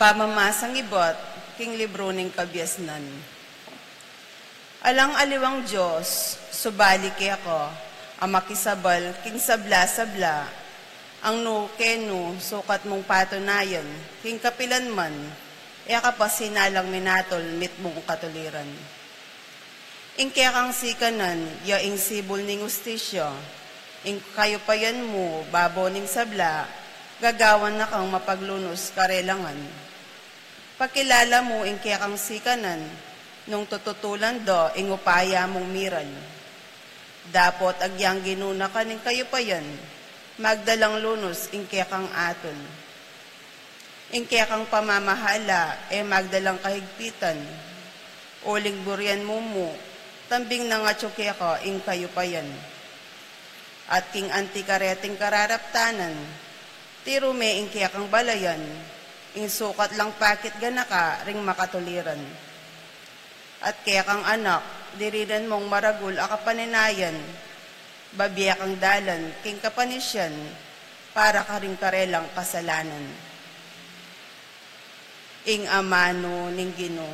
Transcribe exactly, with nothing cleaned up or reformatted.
Pamamasang ibat king libru ning Kabiasnan. Alang aliwang Dios, subali keka, a makisabal king sabla-sabla, ang nu kenu sukat mung patunayan, king kapilan man, e ka pa sinalang minatul mitmung katuliran. Ing kekang sikanan, ya ing sibul ning ustisya, ing kayupayan mu, babo ning sabla, gagawan na kang mapaglunus karelangan. Pakilala mu ing kekang sikanan, nung tututulan da ing upaya mung miral. Dapot agyang ginuna ka ning kayupayan, magdalang lunus ing kekang atul. Ing kekang pamamahala, e magdalang kahigpitan. Uling burian mu mu, tambing nang atyu keka ing kayupayan. At king anti kareting kararaptanan, tiru me ing kekang balayan, ing sukat lang pakit ganaka ring makatuliran. At kekang anak, dirinan mung maragul a kapanenayan, babie kang dalan king kapanisian, para karing karelang kasalanan. Ing amanu ning Ginu.